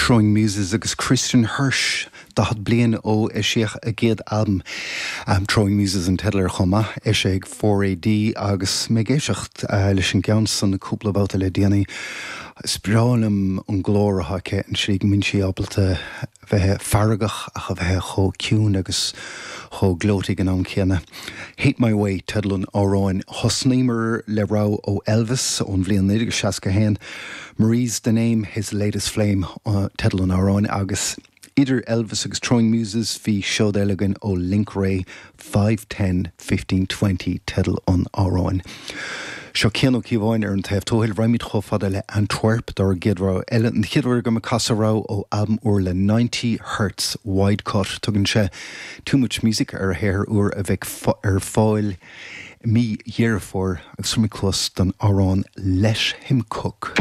Throwing Muses agus Kristin Hersh, 40 bliain ó eisíodh a gcéad albam, Throwing Muses an teideal air chomh maith, eisithe ag 4AD agus mé ag éisteacht leis an gceann san cúpla babhta le déanaí. Is breá liom an glór atá aici, an tslí go mbíonn sí ábalta bheith feargach ach a bheith chomh ciúin agus chomh gleoite ag an am céanna. Hate My Way teideal an amhráin. Thosnaíomar le rogha ó Elvis ón bhliain 1961, Marie's the Name, His Latest Flame teideal an amhráin agus idir Elvis agus Throwing Muses bhí seod eile againn ó Link Wray, 5, 10, 15, 20 teideal an amhráin. Seo Cian Ó Cíobháin ar an taobh tuathail. Raghaimid chomh fada le Antwerp dár gcéad rogha eile. An chéad uair agam ag casadh rogha ó albam úr le 90 Hertz Wide Cut. Tugann sé Too Much Music ar a shaothar úr a bheidh ar fáil i mí Dheireadh Fómhair agus tabharfaimid cluas don amhrán Let Him Cook.